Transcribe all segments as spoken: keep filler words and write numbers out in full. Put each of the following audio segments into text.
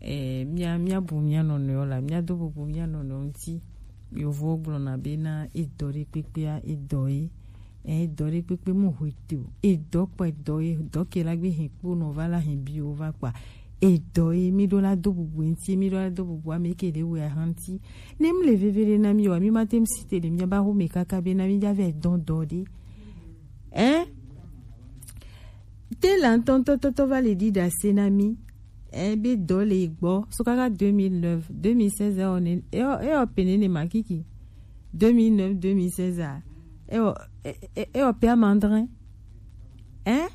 eh, mía, míabu mía nɔnɔewo la, míado bubu mía nɔnɔewo ŋuti. Yovowo gblɔna bena edɔ ɖe kpekpea, edɔ ye. Eh, edɔ ɖe kpekpe mu hwe te o. Edɔ kpa edɔ ye, dɔ ke la gbe hɛn kpo nɔ va la hɛn bi wo va kpa. Edɔ ye, mi ɖo la do bubu ŋuti, mi ɖo la do bubu ame ke ɖe wɛ ahan ŋuti. Ne mi le veve ɖe na mi wa, mi ma te mi si te ɖe mi ba ho me kaka bena mi ja vɛ dɔn dɔ ɖe. Eh? Te la ŋutɔŋutɔ tɔtɔ va le ɖiɖa se na mi. Eh, be dɔ le gbɔ. So kaka deux mille neuf, deux mille seize, ewɔ ne, ewɔ, ewɔ pe ne ne ma kiki. Deux mille neuf, deux mille seize a. Ewɔ, e, e, ewɔ pe amandrin. Eh?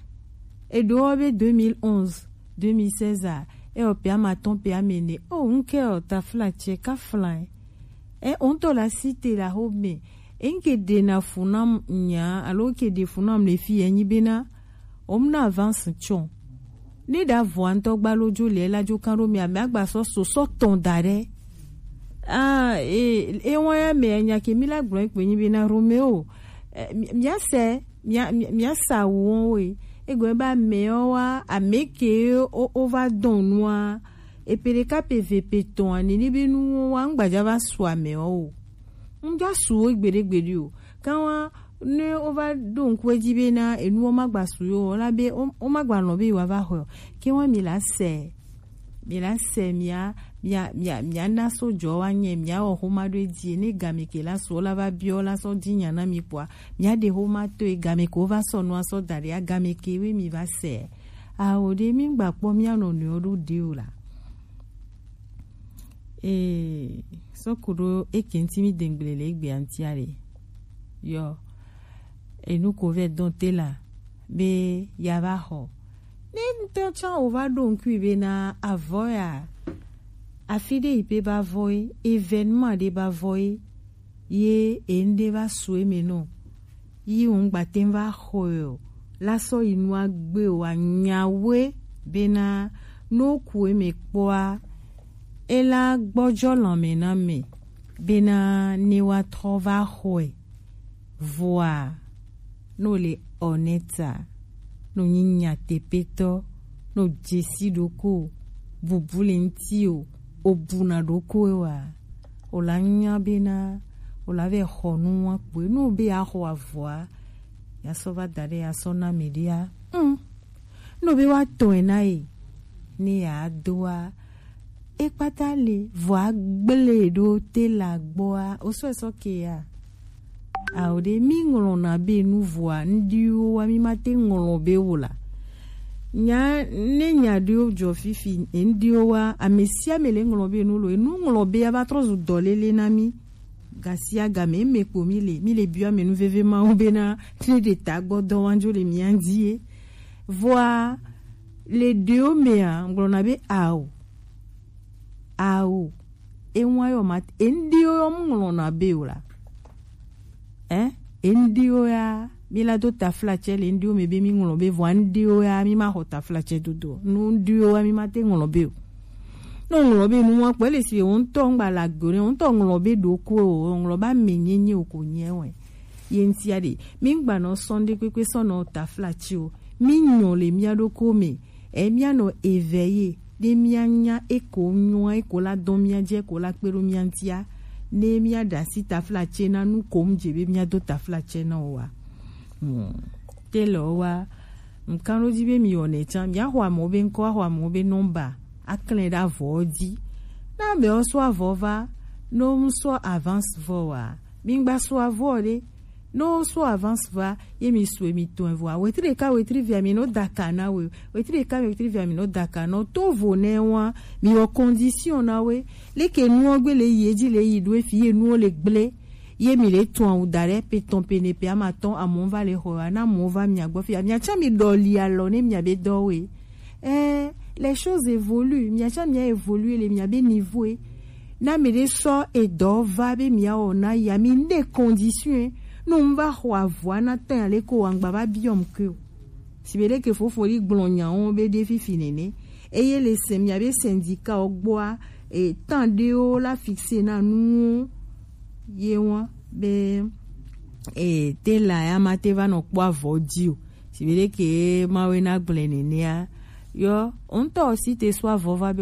Eɖo wɔ be deux mille onze, deux mille seize a. Ewɔ pe amatɔn pe amene. O, ŋkɛ o, tafla tsɛ, kafla. Eh, o ŋutɔ la si te la ho me. Eŋke ɖe na fu nam nya, alo ke ɖe fu nam le fi enyi bena, o mu na avance tsɔ. Ne ɖa vɔa ŋutɔ gba lo dzo le la dzo kan ɖo mi ame agba sɔ so sɔ tɔn da ɖe. Ah, e, e wɔn ya me nya ke mi la gblɔ kpe nyi bena Romeo. Eh, mi, mi ase, mi, mi, mi asa wo we. Egbe ba me o wa, ame ke o, o va dɔn nua. Epe ɖeka pe ve pe tɔn ani ni be nu wa ŋgbadza va su ame o. Ŋdza su wo gbeɖe gbeɖe o. Kan wa ne wo va ɖo ŋku edzi be na enu wo ma gba su yo o la be wo, wo ma gba lɔn be yewoa va xɔe o. Ke wa mi la se, mi la se mia, mia, mia, mia na so jɔ wa nye mia wɔ xoma ɖo edzi ne game ke la su wo la va biɔ la sɔ di nya na mi kpɔa mia ɖe xoma to e game ke wo va sɔ nua sɔ da ɖe a game ke we mi va se. Awo ɖe mi ŋgba kpɔ mia nɔnɔewo ɖo ɖe o la. Ee, sɔku ɖo eke ŋuti mi dengble le egbea ŋutia ɖe. Yɔ, enu ko vɛ dɔn te la be ya va xɔ. Ne ŋutɔ tsã o va ɖo ŋkui be na avɔ ya, afi ɖe yi pe ba vɔ ye, événement ɖe ba vɔ ye, ye eŋɖe va su eme nɔ. Yi ŋgba te va xɔe o. La sɔ yi nua gbe o anyawe bena no ku eme kpɔa, ela gbɔjɔ lɔme na me bena ne wa trɔ va xɔe. Vɔa, no le honnête, no nyi nyateƒetɔ, no dzesi ɖoko, bubu le ŋti o, o buna ɖoko wa. O la nya bena, o la vɛ xɔ nu wa kpoe. No be ya xɔ avɔa, ya sɔ va da ɖe, ya sɔ na me ɖia. Mm. No be wa tɔe na ye, ne ya doa, e kpata le, vɔa gble ɖo te la gbɔa, o sɔ sɔ ke ya. Ao ɖe, mi ŋlɔna be nu vɔa, ŋɖiwo wa, mi ma te ŋlɔ be o la. Nya, ne nya ɖewo dzɔ fifi, ŋɖiwo wa, ame sia ame le ŋlɔ be nu lo, enu ŋlɔ be ya va trɔ zu dɔlele na mi. Gasia game, eme kpo mi le, mi le biɔ ame nu veve mawo bena, ne ɖe ta gbɔ dɔ wa dzo le mia ŋdi ye. Vɔa, le ɖewo mea, ŋgblɔna be ao. Ao. Ewa yɔ ma, eŋɖiwo yɔ mu ŋlɔna be o la. Eh? Eŋɖiwo ya, mi la do taflatsɛ le ŋɖiwo me be mi ŋlɔ be vɔa ŋɖiwo ya, mi ma xɔ taflatsɛ dodo. Nu ŋɖiwo ya, mi ma te ŋlɔ be o. No ŋlɔ be nu wa kpɔ, ele si be wo ŋutɔ ŋgba la gbe o, ne wo ŋutɔ ŋlɔ be ɖoko o, ŋlɔ ba me nyenye o ko nye wɛ. Ye ŋtia ɖe, mi ŋgba nɔ sɔn ɖe kpekpe sɔ nɔ taflatsi o. Mi nyɔ le mia ɖoko me. E mia nɔ eve ye, ɖe mia nya eko nyɔa, eko la dɔn mia dze, eko la kpe ɖo mia ŋtia. Ne mia ɖe asi taflatsi na nu ko mu dze be mia do taflatsi na o wa. Hmm. Te le o wa, ŋkan ɖo dzi be mi wɔnɛ tsã, mia xɔ amewo be ŋkɔ, axɔ amewo be nɔmba, aklẽ ɖe avɔ dzi. Na amewo sɔ avɔ va, no mu sɔ avance vɔ wa. Mi ŋgba sɔ avɔ ɖe, no sɔ avance va, ye mi sɔe mi tɔn vɔa. Wetri ɖeka, wetri via mi no daka na we. Wetri ɖeka, wetri via mi no daka na. To vo ne wa, mi wɔ condition na we. Leke nuwo gbe le yi edzi le yi ɖo efi ye nuwo le gble. Ye mi le tɔn awu da ɖe pe tɔn pe ne pe ama tɔn amewo va le xɔ ya na amewo va mia gbɔ fi ya. Mia tsã mi ɖɔ li alɔ ne mia be dɔ we. Eh, les choses évoluent. Mia tsã mia évoluer le mia be niveau ye. Na mi ɖe sɔ edɔ va be mia wɔ na ya mi ne condition ye. No mu va xɔ avɔa na tɔn ya le ko wa ŋgba va biɔ mu ke o. Si be ɖeke fofo ɖi gblɔ nyawo be ɖe fifi nene. Eye le se mia be syndicat wo gbɔa, e, tan ɖewo la fixe na nuwo ye wa be, e, te la ya ma te va nɔ kpɔ avɔ dzi o. Si be ɖeke mawe na gblɔ nenea. Yɔ, ŋutɔ si te sɔ avɔ va be